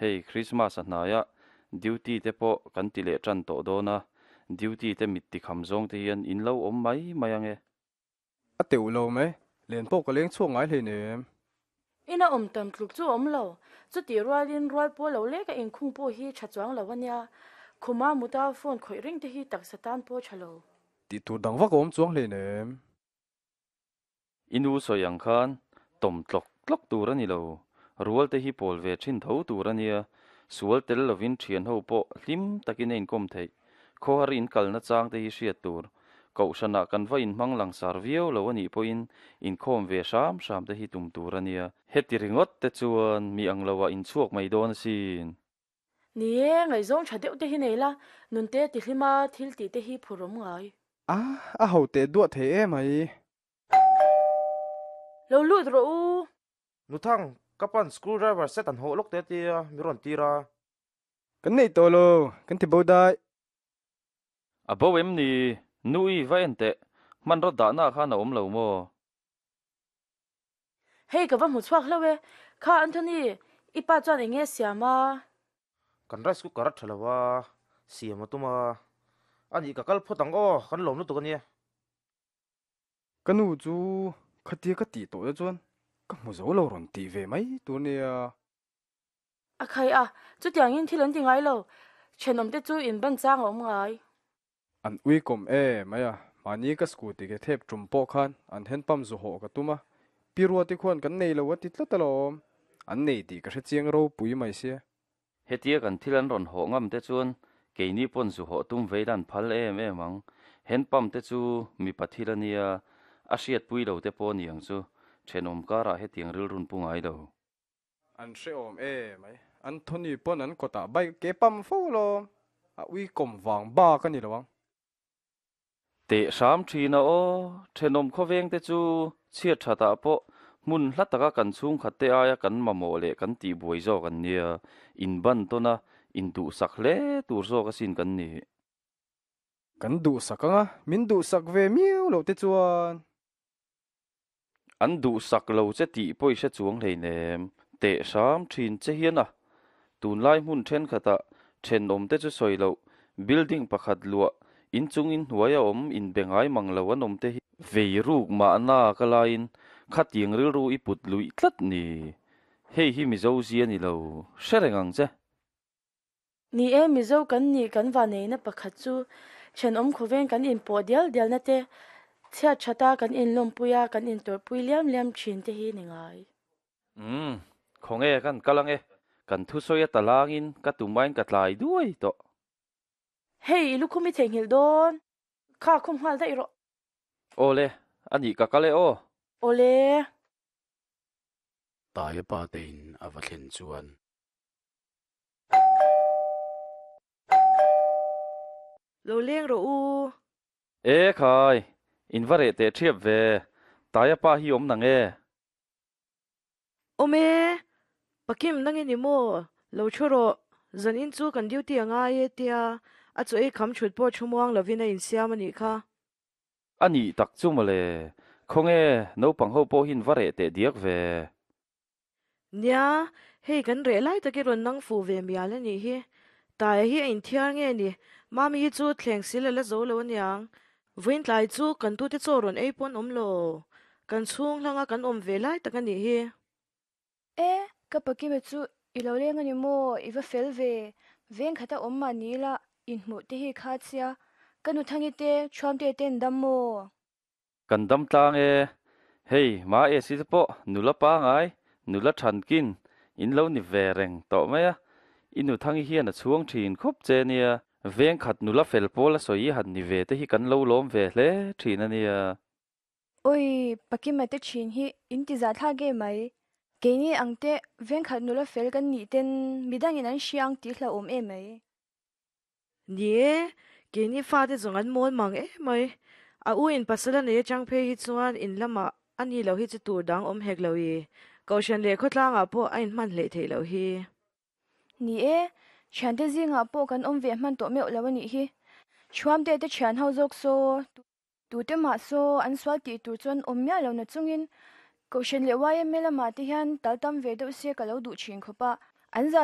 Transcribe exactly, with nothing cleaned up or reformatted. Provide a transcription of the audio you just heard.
Hei Christmas a hnai a, duty te pawh kan ti leh tan tawh dawn a, duty te mit tikham zawng te hian in lo awm mai mai ange. A teuh lo mai, len pawh ka leng chhuak ngai hleinem. Ina awm tam tluk chu awm lo, chutih rualin rual pawh lo lek a inkhung pawh hi tha chuang lo ania, khuma muta phone khawih reng te hi taksa tan pawh tha lo. Tih tur dang vak a awm chuang hleinem. I nu sawi ang khan tawm tlawk tlawk tur a ni lo, rual te hi pawl ve thin tho tur a nia, sual tel lovin thian ho pawh hlim takin a inkawm theih. Khawhar in kalna chang te hi hriat tur. Kohhranah kan va inhmang langsar viau lo a nih pawhin inkhawm ve hram hram te hi tum tur a nia. Heti ringawt te chuan mi ang loah inchhuak mai dawn asin. Ni e, ngaihzawng tha deuh te hi nei la, nunte tihlima thil tih te hi phurawm ngai. A, a ho teh duah thei em mai. Lo lut rawh u. Nuthang, ka pan screw driver set an hawh lawk te tia mi rawn tir a. Kan nei tawh lo, kan ti bo dai. A bo em ni? Nu i va en teh, hmanraw dahna ah khan a awm lo maw? Hei ka va hmu chhuak hlauh e. Kha Anthony, i pa chuan eng nge siam a? Kan rice cooker a tha lo a, siam a tum a. A nih ka kal phawt ang aw, kan lawm lutuk a nia. Ka nu chu khatia ka tih tawh te chuan ka hmu zo lo rawn tih ve mai tur nia. A khai a, chutiangin thil an ti ngai lo, thenawmte chu in ban chang a awm ngai. An uikawm e mai a, mahni ka scooty ke thep tum pawh khan an hand pump zu hawh ka tum a, Pi Ruati khuan kan nei lo a ti tlat alawm, an nei tih ka hre chiang ropui mai sia. Hetia kan thil an rawn hawh ngam te chuan keini pawn zu hawh tum vei lan phal em em ang. Hand pump te chu mipa thil a nia, a hriatpui lo te pawh a ni ang chu, thenawm karah hetiang rilrun pu ngai lo. An hrehawm e mai. Anthony pawn an kawtah bike ke pam fo alawm. A uikawm vang bak a ni lo ang. Teh hram thin a aw, thenawm khawveng te chu chhiat thatah pawh hmun hla taka kan chhungkhat te aia kan mamawh leh kan tihbuai zawk an nia, inban tawn a, induhsak hle tur zawk asin kan ni. Kan duhsak ang a, min duhsak ve miau loh te chuan. An duhsak lo che tih pawh i hre chuang hleinem, teh hram thin che hian a. Tunlai hmun thenkhatah thenawm te chu sawi loh, building pakhat luah, inchung inhnuai a awm inbe ngai mang lo an awm te hi. Vei ruk mahna ka laiin khatiang rilru i put luih tlat ni. Hei hi Mizo zia ni lo, hre reng ang che. Ni e, Mizo kan nih kan vaneina pakhat chu thenawm khawveng kan inpawh dial dialna te, chhiat thata kan inlawmpui a, kan intawrhpui liam liam thin te hi ni ngai. Umm, khawnge kan kal ange, kan thusawi a talangin ka tumain ka tlai duai tawh. Hei, i lukhum i theihnghilh dawn, kha khum nghal daih rawh. Awle, a nih ka kal e aw. Awle. Taia pa tein a va thlen chuan. Lo leng rawh u. E khai, in va reh teh thiap ve, Taia pa hi awm nang e. Awm e, Pakim nang i ni maw? Lo thu rawh, zan in chu kan duty a ngai e tia a chaw ei kham thut pawh thu muang lovin a insiam a nih kha. A nih tak chu mawle, khawnge naupang ho pawh hi in va reh teh diak ve. Nia, hei kan reh lai tak i rawn nang fuh ve mial a nih hi. Taia hi a inthiar nge ni? Mami hi chu thleng sil a la zo lo aniang. Vawiin tlai chu kan tute chaw rawn ei pawn awm lo. Kan chhung hlanga kan awm ve lai tak a nih hi. E, ka Pakima chu i lo leng a ni maw? I va fel ve. Veng khata awm mah ni ila inhmuh te hi kha chia. Ka nu Thangi te, Thuamte te an dam maw? Kan dam tlang e. Hei, ma esi te pawh nula pangai, nula thankin in lo ni ve reng tawh mai a. I nu Thangi hian a chhuang thin khawp che nia. Veng khat nula fel pawl a sawi han ni ve te hi kan lo lawm ve hle thin a nia. Awi, Pakima te thin hi in ti zah thlak em mai. Keini ang te veng khat nula fel kan nih ten midangin an hria ang tih hlauhawm em mai. Ni e, keini fate zawng an mawl mang em mai. A u in pasal a nei atang phei hi chuan in lamah a ni lo hi chu tur dang awm hek lo i, Kohhran leh khawtlangah pawh a inhman hleih theih loh hi. Ni e, thiante zingah pawh kan awm ve hman tawh meuh lo a nih hi. Thuamte te thian ho zawk saw, tute mah saw an sual tih tur chuan awm miah lo na chungin Kohhran leh yma lamah te hian tal tam ve deuh se ka lo duh thin khawp a, an za